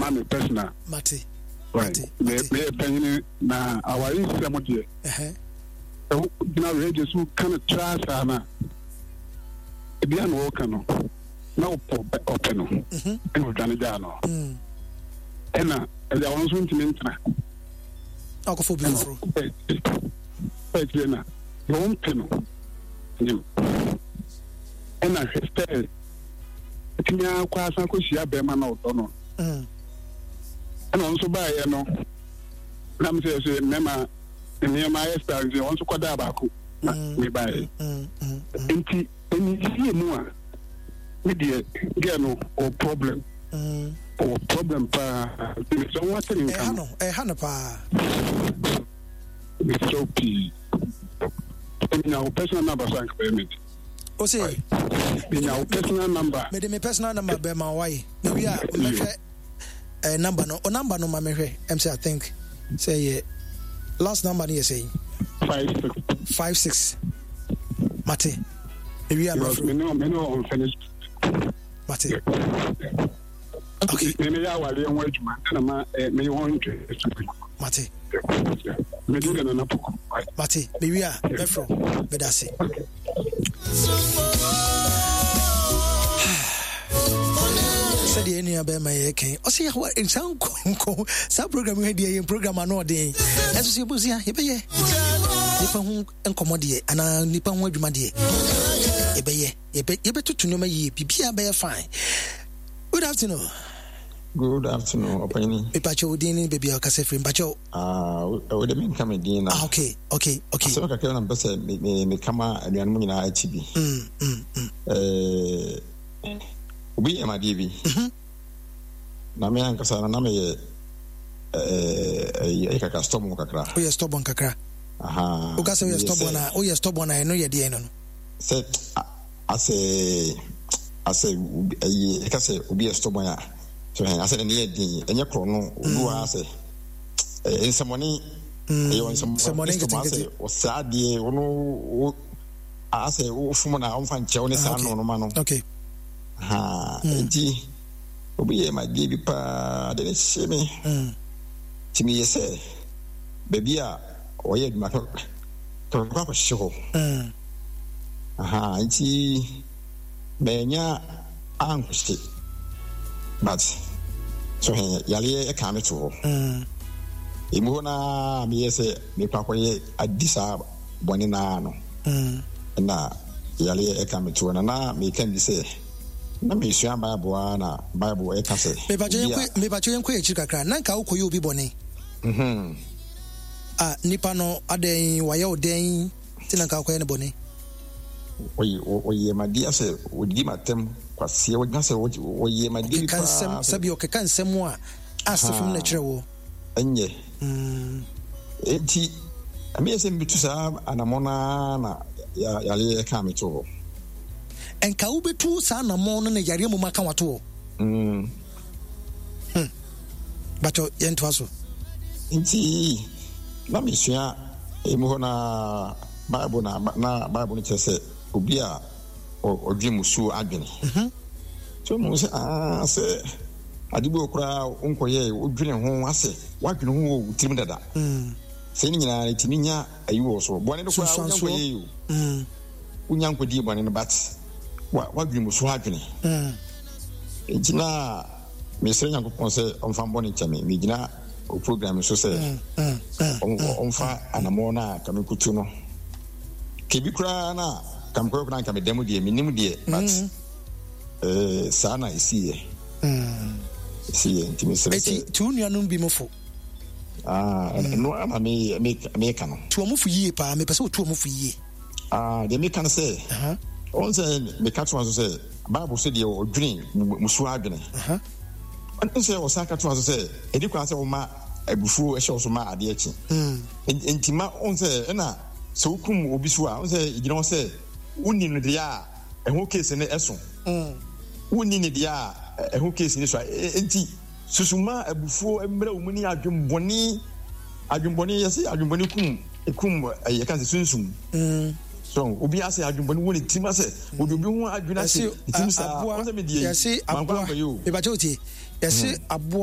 Ma me personal. Mate. Right. Mate. Mate. Meyɛ panyini na aware nsɛm deɛ. Ɛhɛ. Sɛ wogyina radio so ka no tra saa no a, ebia na wɔka no na ɔpɛ ɔpɛ no mhm. ɛna ɔdwane gyaa no. Mm. Ɛna ɛgya wɔn nso ntumi ntena. Akɔfo bi foforɔ. Ɛkyerɛ na deɛ wɔmpɛ no nim. Ɛna hwɛ sɛ ɛtumi akɔ asan akɔhyia bɛrima na ɔdɔ no. Mm. Ɛna ɔno nso baeɛ no na mesɛ sɛ mmarima nneɛma ayɛ saa nti ɔno nso kɔdaa baako na mm. mebaeɛ. Mm, nti ɛniyie mu a me deɛ gɛ no ɔwɔ problem. Ɔwɔ problem paa. Mesrɛ wo ate ne nka no. Ɛha no paa. Mesrɛ wo pii. Menya wo personal number so anka bɛyɛ me. O se. Menya wo personal number. Mede me personal number bɛ ma waye. Me wi a mɛhwɛ eh, number no. O number no ma mehwɛ. Ɛm sɛ I think sɛ yɛ last number no yɛ sɛ 56. 56. Mate. Me wi a mɛfrɛ. Me no me no unfinished. Mate. Okay. Me me yɛ awareɛ ho adwuma na ma eh, me ho ntwe. Mate. Me di na na poko. Mate. Me wi a mɛfrɛ. Medase. Sɛdeɛ ɛnua bɛrima yɛ kɛn ɔsɛ yɛhoa nsa nkɔnkɔ saa program yi deɛ yɛ program ano ɔden ɛnso sɛ yɛbɛsua yɛbɛyɛ nipa ho nkɔmmɔ deɛ anaa nipa ho adwuma deɛ yɛbɛyɛ yɛbɛtoto nneɛma yie biribiara bɛyɛ fine. Good afternoon. Good afternoon, ɔpanyin. Mepakyɛ wo din ne baabi a ɔkasa firi mpakyɛ. Ah, wo de menka me din na. Ah, okay, okay, okay. Asɛm kakra na mpɛ sɛ me me meka ma anuanom nyinaa akyi bi. Mm. Eh, obi yɛ madeɛ bi. Mm-hmm. Na me ankasa no na meyɛ eh, eh, kakra stubborn kakra. Woyɛ stubborn kakra. Aha. Woka sɛ woyɛ stubborn a, woyɛ stubborn a ɛno yɛ deɛn no no? Sɛ asɛ asɛ ɛyi ɛka sɛ obi yɛ stubborn a so hɛn asɛ n'ani yɛ den ɛnyɛ korɔ no obi wɔ ha sɛ ɛyɛ nsɛmɔne ɛyɛ nsɛmɔne stubborn asɛ ɔsɛ adeɛ ɔno wo asɛ wofom na ɔmfa nkyɛw ne saa no no ma no okay ha nti obi yɛ ma deɛ bi paa de ne hyɛ me nti meyɛ sɛ baabi a ɔyɛ adwuma kɔ akɔhye hɔ. Ahaa nti manya anhye but so he yareɛ ɛkaa me to hɔ. Emu hɔ naa meyɛ sɛ mekɔ akɔyɛ adi saa bɔne naa no na yareɛ ɛka me to hɔ na na meka bi sɛ na mesua Bible a na Bible ɛka sɛ Mepakyɛ yɛnkɔ akyiri kakra na nka wokɔyɛ obi bɔne. Ah nipa no adɛn wayɛ wo dɛn nti na nka wokɔyɛ no bɔne. Ɔyɛ m'adeɛ asɛ ɔdidi m'atɛm kwaseɛ ɔgyina sɛ ɔyɛ m'adeɛ bi paa sɛ. Sɛbi ɔkeka nsɛm a asefem na ɛkyerɛ woɔ. Ɛnyɛ. Enti ɛmeyɛ sɛ metu saa anamɔ no ara na yareɛ kaa me to hɔ. Nka wobɛtu saa anamɔ no na yareɛ mmom aka wato hɔ. Hmm. Bakyɛ yɛntoa so. Nti na mesua emu hɔ na Bible na na Bible no kyerɛ sɛ obi a ɔdwe musuo adwene. Mhm. So mu sɛ aa sɛ ade bi wɔ koraa wonkɔyɛ wodwene ho asɛ woadwene ho wɔ wo tirim dada. Mm. Sɛ ne nyinaa ɛtumi nya ayi wɔ so. Bɔne no koraa wonya nkɔyɛ o. Mm. Wonya nkɔdie bɔne no but woadwene musuo adwene. Mm. Nti na mesrɛ Nyankopɔn sɛ ɔmfa mbɔne nkyɛ me. Megyina o program so sɛ ɔmfa anamɔ no a ka mekutu no. Kebi koraa na ka mekɔyɛ koraa nka meda mu deɛ menim deɛ but eh, saa na ɛsiiɛ. Ɛsiiɛ nti mesrɛ sɛ. Eti tu wo nuanom bi mo fo. Ah, ɛno ara na meka no. Tu wɔn fo yie paa, mepɛ sɛ wotu wɔn fo yie. Ah, deɛ meka no sɛ, ɔn sɛ meka to so sɛ Bible sɛ deɛ ɔdwene musuo adwene. Ɔn sɛ ɔsan ka to so sɛ ɛdi kwan sɛ woma abufuo hyɛ wo so ma adeɛ kye. Nti ma ɔn sɛ ɛna sɛ wokum obi so a ɔn sɛ ɛgyina hɔ sɛ wonni no deɛ a ɛho case no ɛso. Wonni ne deɛ a ɛho case no so a nti Susu ma abufuo mmra wo mu ne adwembɔne. Adwembɔne yɛse adwembɔne kum ekum ɛyɛ kan sɛ sunsum. Mm. So obi asɛ adwembɔne wɔ ne tirim asɛ wɔde obi ho adwene ahyɛ ne tirim saa. Aboa Ɔsɛ me deɛ yɛse mankɔ aboa ankɔyɛ o. mebakyɛ wotie yɛse Mm. aboa.